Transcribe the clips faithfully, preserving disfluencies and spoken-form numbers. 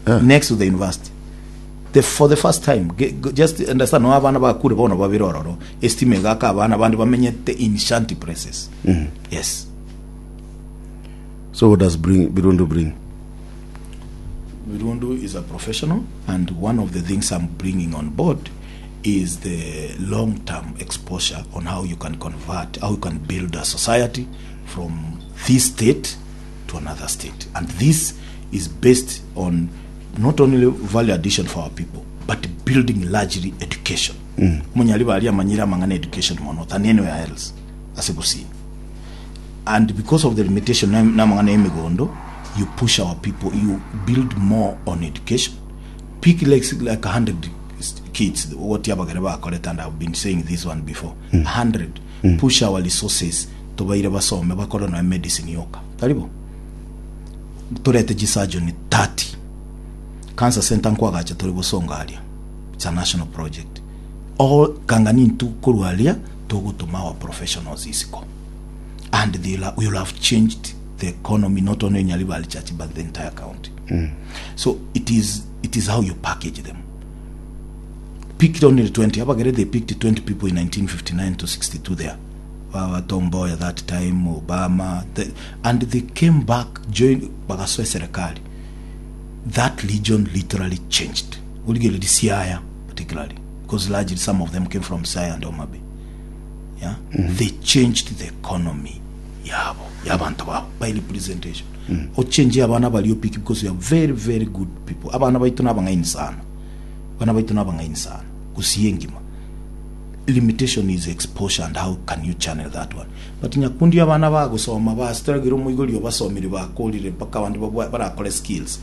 Yeah. Next to the university. The, for the first time, ge- go- just understand, no abana bakure bono babere ororo, estima egaka abana bande bamenyete in shanty places. Yes. So what does bring Birundu bring? Birundu is a professional, and one of the things I'm bringing on board is the long-term exposure on how you can convert, how you can build a society from this state to another state. And this is based on not only value addition for our people, but building largely education. Omonyaribari amanyire amang'ana education mono than anywhere else ase Gusii. And because of the limitation na- namang'ana ya emigondo, you push our people, you build more on education. Pick like, like a hundred kids, what abagere bakorete, and I've been saying this one before, a hundred, push our resources tobaire basome bakore na medicine yoka taribo torete chisurgeon thirty, cancer center nkwagacha tori bosonga aria. It's a national project all kangani ntu korwa aria togotoma our professionals isiko, and they'll, will have changed the economy not only in Nyaribari Church but the entire county. So it is it is how you package them. Picked only twenty. Abagere, they picked twenty people in nineteen fifty-nine to sixty-two there. Baba Tom Mboya that time, Obama, the, and they came back, joined bagasoa serikali. That region literally changed. Uligeli Siaya particularly, because largely some of them came from Siaya and Homa Bay. Yeah, they changed the economy yabo yabantu babo by representation. Ochange abana baliyo pick because we are very, very good people. Abana baitu nabang'aini sana, abana baitu nabang'aini sana Gusii engima. Limitation is exposure and how can you channel that one. But Nyakundi, abana bagosoma bastruggle, omoigori obasomire bakorire mpaka abandi babwa- barakore skills.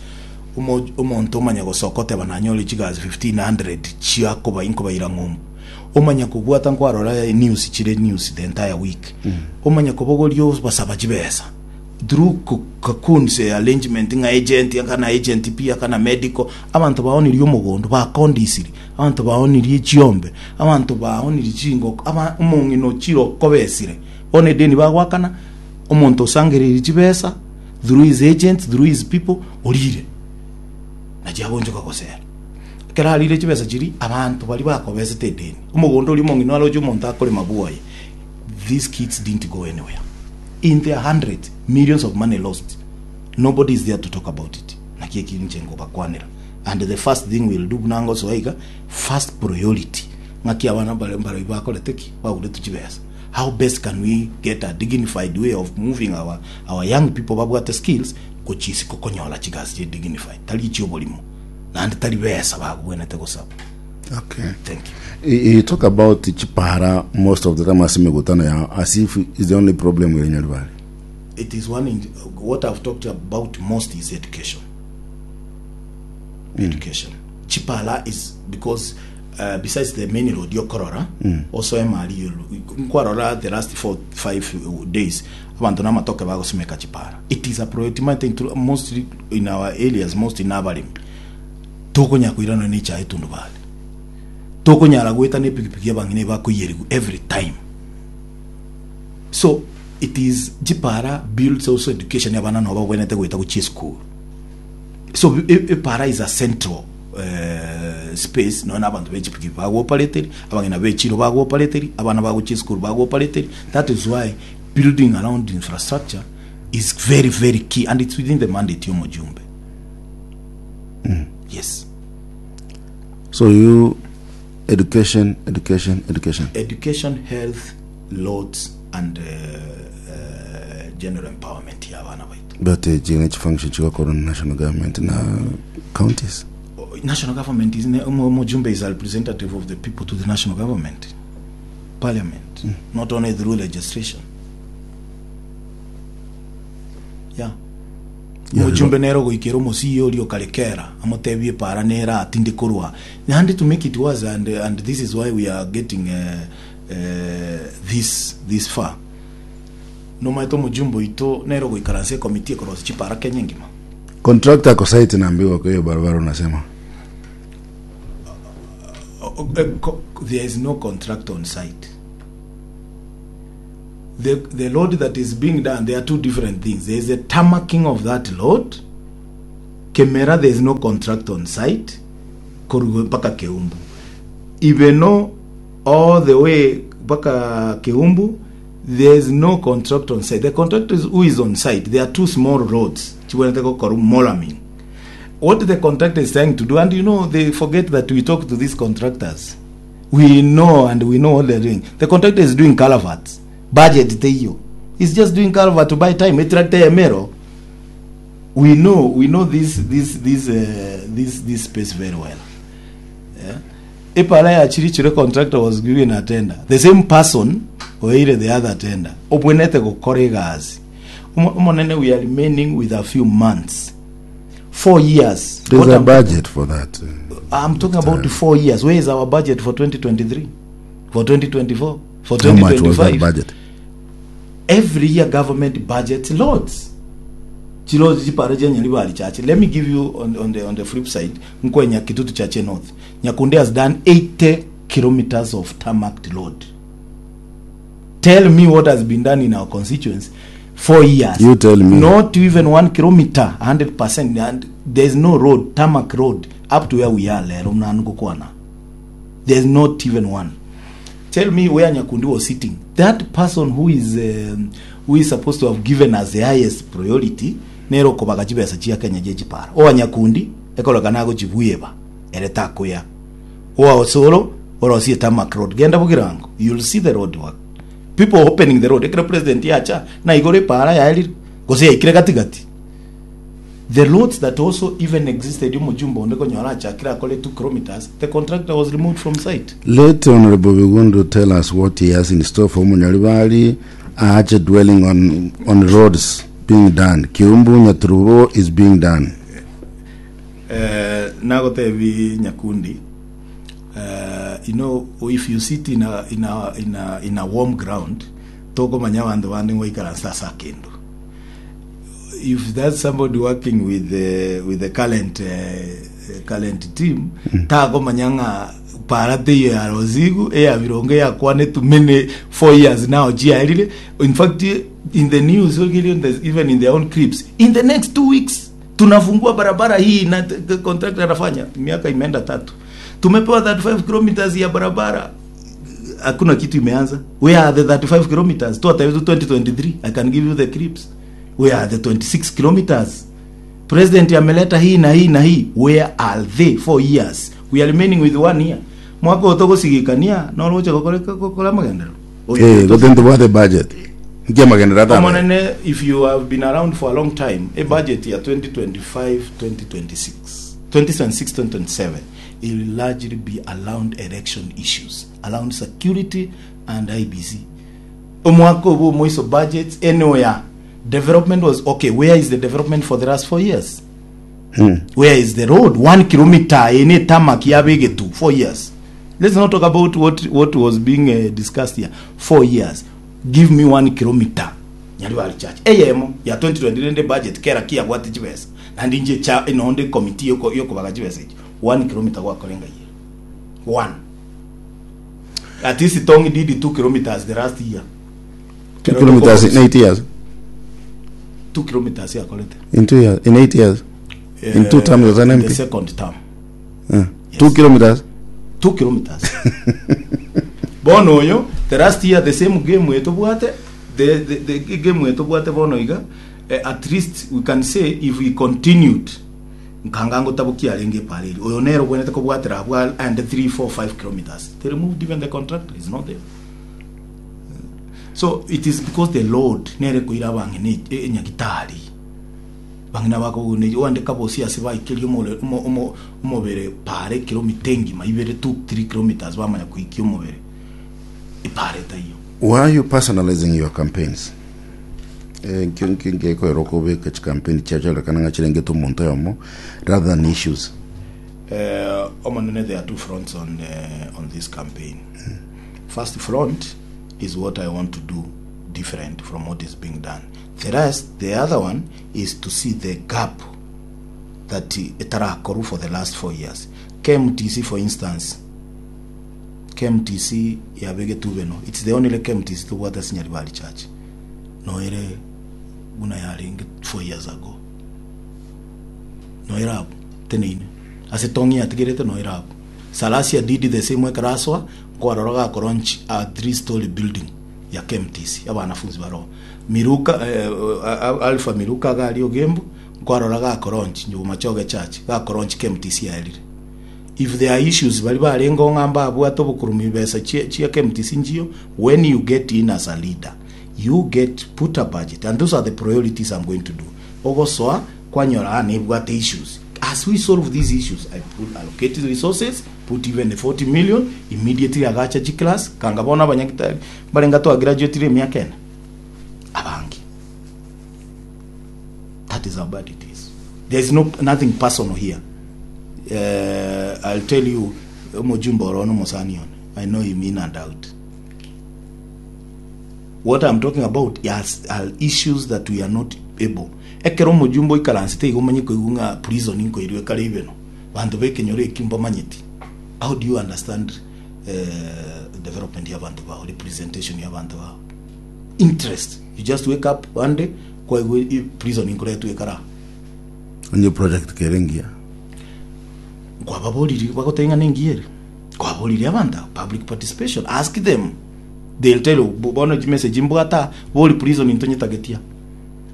Omo- omonto omanya gosoka oteba nanyore chigasi fifteen hundred chiakoba inkobaira ng'umbu, omanya kobwata nkwarora news chire news the entire week, omanya kobogoria basaba chibesa through cocoons arrangement ng'a agent akana agent pia akana medical. Abanto baonirie omogondo, bakondisiri abanto, baonirie chiombe, abanto baonirie chingoko, aba omong'ina ochire okobesire bono edeni bagwakana omonto osangereire chibesa through his agents, through his people, orire nachiagonchoka gosera ekero arire chibesa chiri abanto bari bakobesete edeni omogondo ori omong'ina aroche omonto akorema bwoye. These kids didn't go anywhere. In their hundreds, millions of money lost. Nobody is there to talk about it. Naki ekinche ngobakwanera, and the first thing we'll do nango soiga, first priority, ng'aki abana bare bare bakorete ki baguretu chibesa, how best can we get a dignified way of moving our, our young people babwate skills gochisi kokonyola chigasi che dignified, tari chioborimo naende tari besa bagubwenete gosaba. Okay. Thank you. You you talk about chipara most of the time ase mikutano yao as if it's the only problem with Nyaribari. It is one in, what I've talked about most is education. Education. Chipala is because uh, besides the main road yokorora, also emali nkwarora the last four five days abantu namatoke bagosimeka chipara. It is a priority matter mostly in our areas, most in abalimi tokonya kuirana ni cha etundubali tokonyara gweta ne pikipiki abang'ina bakoyerigu every time. So it is chipara builds also education abana no babwenete gweta gochia school. So e- epara is a central uh, space nonya abanto bechipikipiki bagwopareteri, abang'ina bechiro bagwopareteri, abana bagochia school bagwopareteri. That is why building around infrastructure is very, very key, and it's within the mandate yomojumbe, yes. So you education, education, education. Education, health, roads and uh, uh, general empowerment ya abana baitu. But uh, chine function chigakora na national government na counties. National government is mujumbe is a representative of the people to the national government, parliament, not only through legislation, yeah. Yeah, Mujumbe nero goikera omosie oria okarekera amotebie para nera atinde korwa and to make it worse, and, and this is why we are getting uh, uh, this this far. Nomaete omojumbe oito nero goikaransa ekomiti ekorosia chipara Kenya engima. Contractor ako site naambiwa kwa hiyo barabara unasema. Uh, uh, co- there is no contract on site. The, the road that is being done, there are two different things. There is a tarmacking of that road. Kemera there is no contract on site korugo mpaka Keumbu. Ibeno all the way mpaka Keumbu there is no contract on site. The contractor is, who is on site, there are two small roads chibwenete gokoru molaming. What the contractor is trying to do, and you know they forget that we talk to these contractors. We know and we know what they're doing. The contractor is doing culverts. Budget teiyo. He's just doing culvert to buy time. Etractor emero. We know we know this this this uh, this this space very well. Yeah. Epara ya Chirichire contractor was given a tender. The same person oire the other tender. Obwenete gokora egasi. Omo- Omonene we are remaining with a few months. Four years. There's What a I'm- budget for that. I'm talking about the four years. Where is our budget for twenty twenty-three? For twenty twenty-four? For How much was that twenty twenty-five? budget? Every year government budget loads. Chilozi chipara cha Nyaribari Chache. Let me give you on, on the on the flip side, Nkwenya Kitutu Chache North. Nyakunde has done eighty kilometers of tarmac road. Tell me what has been done in our constituency. Four years. You tell me. Not even one kilometer, hundred percent. And there's no road, tarmac road, up to where we are. Lero mnanukukwana. There's not even one. Tell me where Nyakundi was sitting. That person who is um, who is supposed to have given us the highest priority nero kobaga chibesa chia Kenya je chipara. Owa Nyakundi ekoloka nago chibuyeba ere takuya. Owa Osoro orosie tarmac road. Genda bugirango. You'll see the road work. People opening the road. Ekero president yacha na igore para yaeli gose yaikire katikati. The roads that also even existed mujumbo ndeko nyora chakira kole two kilometers the contractor was removed from site. Let Honorable Bigundhu tell us what he has in store for Munyaribari, Ache dwelling on, on roads being done. Kiumbu Nyaturubo is being done. Uh, nagotebi Nyakundi, uh, you know if you sit in a, in a, in a, in a warm ground tokomanya bandu bande ngoikaransa ase akendo. If that's somebody working with the with the current uh, current team mm. takomanya ng'a para teiyo ya rozigu eya birongo yakwane tumene four years now jiarire. In fact, in the news even in their own clips, in the next two weeks tunafungua barabara hii na t- contractor anafanya miaka imeenda tatu tumepewa thirty-five kilometers ya barabara hakuna kitu imeanza. Where are the thirty-five kilometers tu hata twenty twenty-three? I can give you the clips. Where are the twenty-six kilometers? President ameleta hii na hii na hii. Where are they? Four years, we are remaining with one year. Mwaka utogosigikania no roche gokora gokora magendero. Eh, go then the budget. Ngia magendero tha. Omonene, if you have been around for a long time, a budget year twenty twenty-five twenty twenty-six, twenty twenty-six twenty twenty-seven, it will largely be around election issues, around security and I B C. Omwaka obu moiso budgets anywhere. Development was okay. Where is the development for the last four years? Hmm. Where is the road? One kilometer in a tarmac yabegetu four years. Let's not talk about what, what was being uh, discussed here. Four years. Give me one kilometer. Nyaribari Church. Eyemo ya twenty twenty budget kera kia gwati chibesa. Na ndinje cha inonde committee yoko yoko bagachibesa. One kilometer kwa kolenga year. One. At least it only did two kilometers the last year. Two kilometers in eight years. Two kilometers ya kolete. In two years, in eight years. Uh, in two terms as an M P. The second term. Uh, Yes. Two kilometers. Two kilometers. Bono yo, the last year the same game we tobwate, the the, the game we tobwate bono iga, eh, at least we can say if we continued nkangango tabuki arenge pareli. Oyo nero bwenete kobwatera abwa and three four five kilometers. They removed even the contractor, is not there. So it is because the Lord nere kuira bangi ne nyagitari. Bangina bako ne wande kabosi asiba ikeli omo omo omobere pare kilomita ngima ibere two three kilometers bamanya kuiki omobere ipare tayo. Why are you personalizing your campaigns? Eh nkingi ngeko eroko be campaign chacha kana ngachirenge to muntu yomo rather than issues. Eh omonene, there are two fronts on uh, on this campaign. Mm. First front is what I want to do different from what is being done. The rest, the other one, is to see the gap that etarakoru for the last four years. K M T C, for instance, K M T C yabege tubeno. It's the only K M T C to water Nyaribari Church. No ere guna yaringi four years ago. Noirabu teneine ase tongi atigerete noirabu. Salasia did the same ekaraswa kwarora gakolaunch a three story building ya K M T C, abanafunzi baro Miruka, eh, Alpha Miruka gari ogembo kwarora gakolaunch nyuma choge church gakolaunch K M T C yaerire. If there are issues bari barengo ng'amba abwate obokurumi besa chia chia K M T C njio, when you get in as a leader, you get put a budget, and those are the priorities I'm going to do. Ogosoa kwanyora ane ebwate issues, as we solve these issues, I put allocated resources, put even the forty million immediately, agacha chiclass kanga bona abanyagitari barenga twa graduate emiaka ene abangi. That is how bad it is. There is no nothing personal here. uh, I'll tell you, omujumbe orono musani one, I know him in and out. What I'm talking about is, are issues that we are not able. Ekero omujumbe oikaransete igo omanye koigwa ng'a prison nkoirwe kare ibeno banto bekenyoro ekio mbamanyeti. How do you understand uh, development ya bantu bao, representation ya bantu bao, interest? You just wake up one day kwaigwa i- prison nkoretwe ekara. Onye project kerengia. Kwababoriri bagotenga nengiere kwaboriri abantu public participation, ask them, they'll tell you. bo- bono message mbwata bori prison intonyetagetia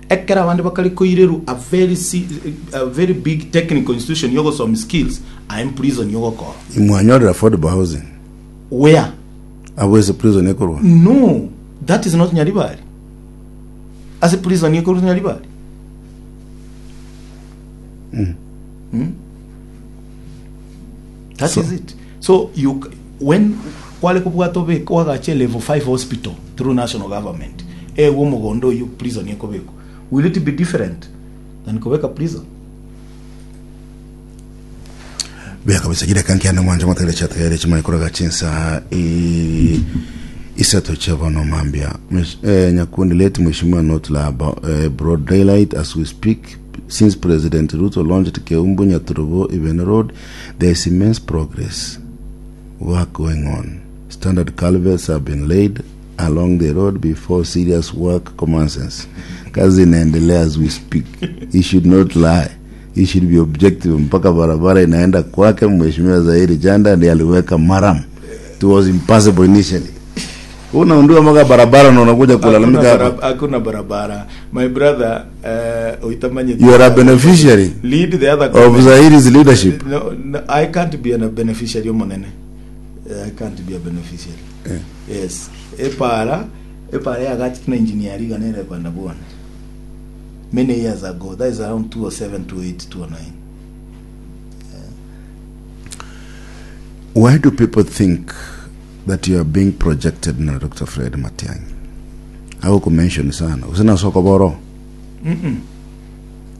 ekera abandi bakari koireru a very si, a very big technical institution yogosoma skills I'm prison yogokora. Imwanyorera affordable housing. Where? Abwese prison ekorwa. No, that is not Nyaribari. As a prison yekoru Nyaribari mm. That So- is it. So you c- when kwale kubwata obeka wagache level five hospital through national government, ewo omogondo oyo prison ekobekwa, will it be different than kobeka prison? Bya kabisa gire kanki ane mwanje mategere chategere chimanye kuraga chinsa i isato chavono mambia. Mwesh- eh, nyakundi let mheshimiwa not lie about eh, broad daylight as we speak. Since President Ruto launched Keumbu Nyaturubo Even Road, there is immense progress work going on. Standard culverts have been laid along the road before serious work commences. Kazi inaendelea as we speak. He should not lie, he should be objective. Mpaka barabara inaenda kwake mheshimiwa Zairi Janda ndiye aliweka murram. It was impossible initially. Unaundua mpaka barabara na unakuja kulalamika Hakuna hapa. barab- hakuna barabara, my brother. uh, uitamanye You are a beneficiary lead the other of comment. Zairi's leadership. no, no, I can't be a beneficiary omonene. I can't be a beneficiary. Eh. Yes, epara epara yagati na engineer ganere kwanda bwana many years ago. That is around two oh seven, two oh eight, two oh nine. Why do people think that you are being projected na Doctor Fred Matiang'i? Mention sana. Usina soko boro. Mm-mm.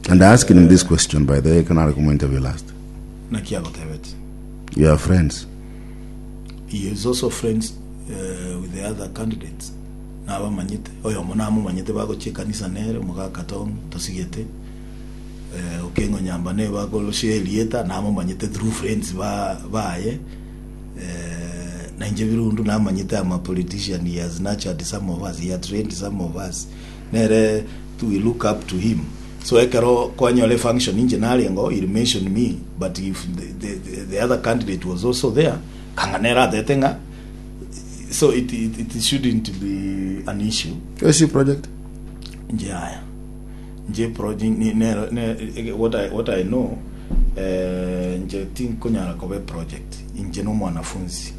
And I asked him this question, by the way, can I interview last. Na kiagotebeti. You are friends. He is also friends uh, with the other candidates nabamanyite oyo omo namumanyite bagochia ekanisa nere omogaka tong tosigete eh, okengo nyamba ne bagorosia elieta namumanyite through friends ba baye eh, na inje birundu namanyite ama politician. He has nurtured some of us, he has trained some of us. Nere to we look up to him. So ekero kwanyore function inje narengo, he mentioned me, but if the, the, the, the other candidate was also there, kanga nera atete ng'a so it, it, it shouldn't be an issue. Yoshi project. Nje aya nje project ni ne, ne, what I, what I know, eh, nje tinkonyara kobe project nje no mwanafunzi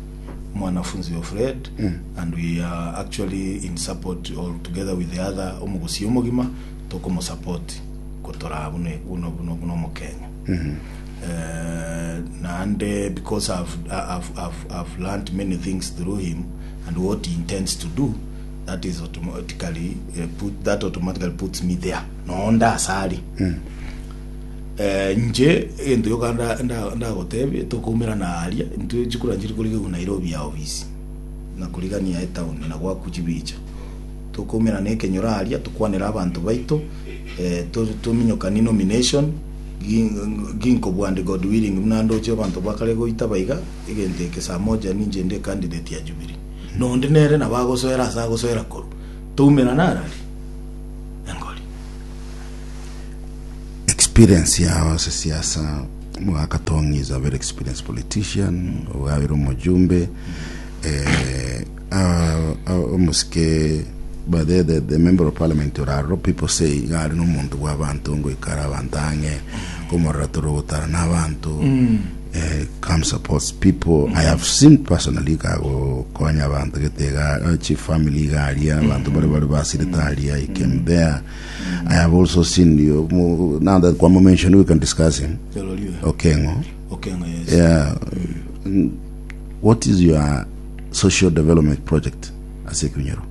mwanafunzi of Fred mm. and we are actually in support all together with the other omugusi omogima tokomo support kotora buno buno buno buno mu Kenya mm -hmm. uh, and because I've, I've, I've, I've learned many things through him and what he intends to do, that is automatically uh, put that automatically puts me there nonda asali mm. eh, nje ento yoka ndagotebia tokumira na aria intwe chikura nchiri kuriga ku Nairobi ya office na kurigania etown na gwaku chibicha tukumira na ekenyoro aria tukwanira abantu baito eh, tuminyokani nomination ginko bwande. God willing, muna ndoche abantu bakare goita baiga egente eke saa moja ninje ndi candidate ya Jubilee nondi nere na bagosoera asa agosoera koru tumira narari engori. Experience. Experience yao ase siasa Mogaka Tong is a very experienced politician ogabire omojumbe eh, uh, uh, omusike but the, the, the member of parliament oraro people say gari n'omuntu bw'abantu ngoikara abantu ang'e komorora torogotara n'abantu eh, come supports people i have seen personally kagokonya abantu getega uh, chief family garia abantu bari bari basirete aria he came there i have also seen you mo- now that kwamo mention we can discuss him Okengo Okengo yes yeah mm. what is your social development project ase Kinyoro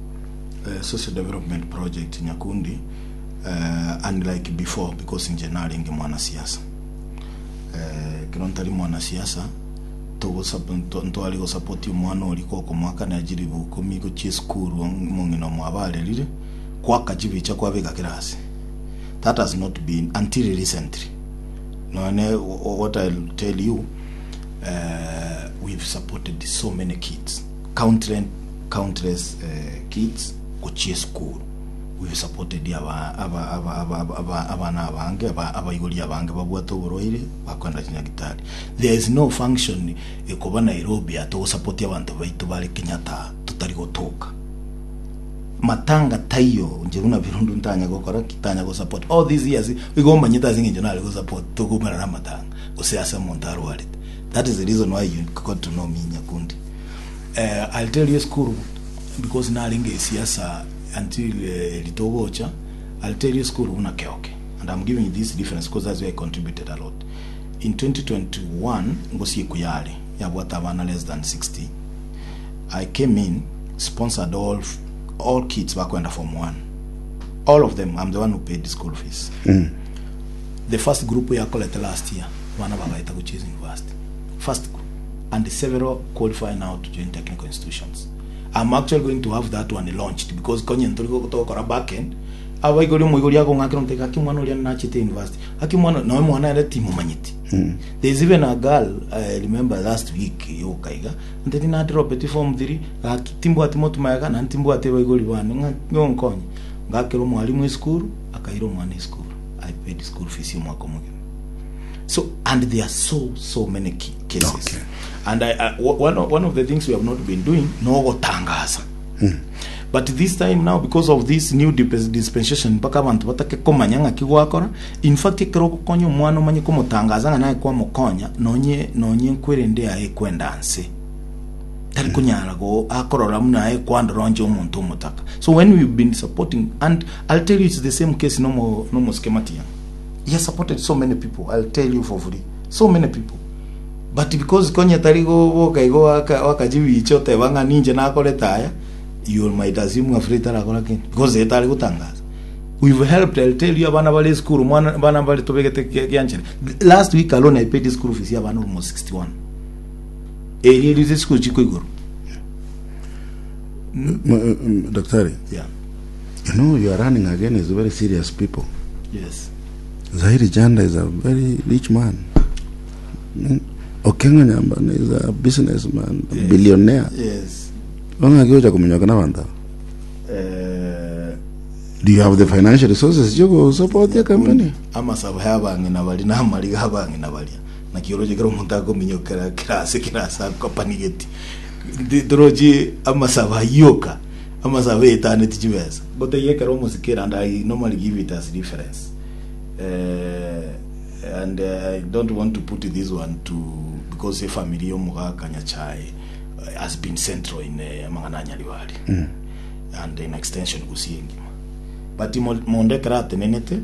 uh, social development project Nyakundi uh, unlike before because nje naringe mwanasiasa uh, kero ntari mwanasiasa ntwari gosapoti omwana ori koko mwaka najiri bukumi gochia esukuru mong'ina mwabarerire kwaka chibicha kwabeka kirasi that has not been until recently none what I'll tell you uh, we've supported so many kids countless countless uh, kids gochia school we've supported aba aba aba aba aba abana abange aba abaigori abange babwate oborwaire bakwenda chinyagitari there is no function ekoba Nairobi atogosupport abantu baitu bari Kenyatta tutari gotoka matanga taiyo nje buna birundu ntanya gokora kitanya go support all these years igomanyita zingi nje go support tugumera na matanga gose asa muntu arwarite that is the reason why you got to know me Nyakundi uh, I'll tell you school because naringe siasa until uh, litogocha I'll tell you school una keoke and I'm giving you this difference because that's where I contributed a lot in twenty twenty-one ngosi kuyale yabwata abana less than sixty I came in sponsored all all kids bakwenda form one all of them I'm the one who paid the school fees mm. the first group we collected last year bana bagaita go Chase University first group and several qualify now to join technical institutions I'm actually going to have that one launched because konye ntuliko kutoka back end abaigori omoigori akong'akera nteka aki mwana oria nachete university aki mwana nawe mwana ere timomanyeti mm. there's even a girl I remember last week yokaiga nteti nadropeti form three gaki timbwati motumayaga na ntimbwati baigori bane ng'onkonye ngakera omwalimu esukuru akaira omwana esukuru I paid school fees y'omwaka omogima so and there are so so many cases okay. and I, I, one, of, one of the things we have not been doing no gotangaza mm. but this time now because of this new dispensation mpaka abantu batake komanya ng'aki gwakora in fact ekero ogokonya omwana omanye komotangaza ng'a naye kwamokonya nonye nonye nkwerende yaye kwenda nse tari kunyara go akorora muna aye kwandora nje omonto omotaka so when we've been supporting and I'll tell you it's the same case no more no more schematia he has supported so many people I'll tell you for free so many people but because konya tari go boka igo wakajibicho tebanga ninje nakoreta aya you might assume afraid arakora kintu because etari gutangaza we've helped I'll tell you abana bali school mwana bana bali tobegete kianchere last week alone I paid school fees ya abana almost sixty-one eri eri school chiko igoro mm. Daktari yeah you know you are running against very serious people yes Zahiri Janda is a very rich man mm. Okengo Nyambane is a businessman a yes. billionaire yes Ong'aki kuminyoka na bantu eh do you have the financial resources you go support your company amasabo y'abang'ina bari n'amariga abang'ina baria na kioroje kero omonto akominyokera kirase kirase akopanigeti ndoroji amasabo ayoka amasabo etaneti chibesa goteiye kero omosikera and I normally give it as reference uh, and uh, I don't want to put this one to because a family yomugaka Nyachae has been central in uh, mang'ana Nyaribari mm. and in extension gusiengima but mondekera atenenete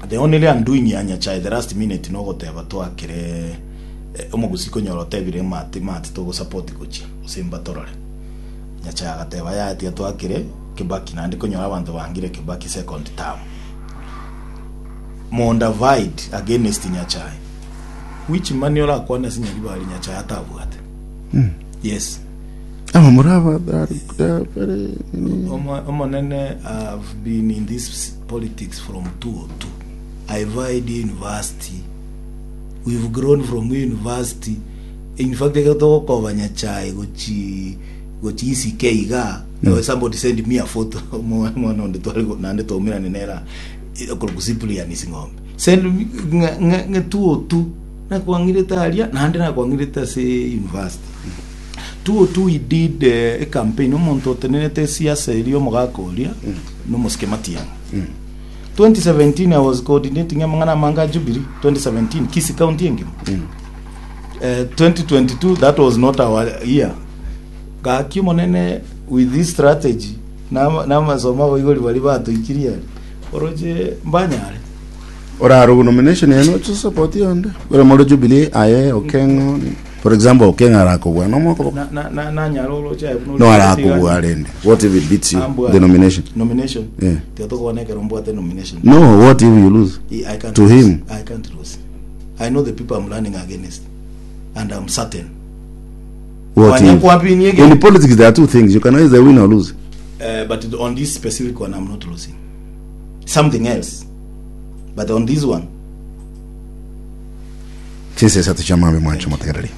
the only undoing ya Nyachae the last minute no goteba twakire omogusi konyora otebire mati mati togo support gochia osimba torore Nyachae agateba yatia twakire Kibaki nandi konyora abantu bangire Kibaki second term Monda vied against Nyachae which money ola kwana sinyaribari Nyachae atabwate mm. yes ama murava very omonene I've been in this politics from two oh two I vied university we've grown from university in fact ekatokoba Nyachae gochi gochi E C K iga mm. somebody send me a photo mwana onde twali nande tomirane nera okurukusipulia nising'ombe Send me ng'a two oh two nakwang'irete aria naende nakwang'irete ase university. Two oh two we did uh, a campaign omonto otenenete esiasa eria omogaka oria nomosike Matiang'i. twenty seventeen I was coordinating amang'ana amange a Jubilee twenty seventeen Kisii County engima. Uh, twenty twenty-two that was not our year. Gaki omonene with this strategy namasomo abaigori bari batoikirie aria oroche mbanyare. Orarugu nomination yenu to support yonde. Ore moro Jubilee aye Okengo for example Okengo arakobwa no moko na na na nanyara oroche aye no arakobwa rende. What if it beats you the nomination? Nomination. Yeah. Tiatokwana ekero mbwate nomination. No, what if you lose? I can't to lose. him. I can't lose. I know the people I'm running against and I'm certain. What if? In politics there are two things. You can either win or lose. Uh, but on this specific one I'm not losing. Something else. But on this one. Chinse satu cha mambe mwancho matagarari.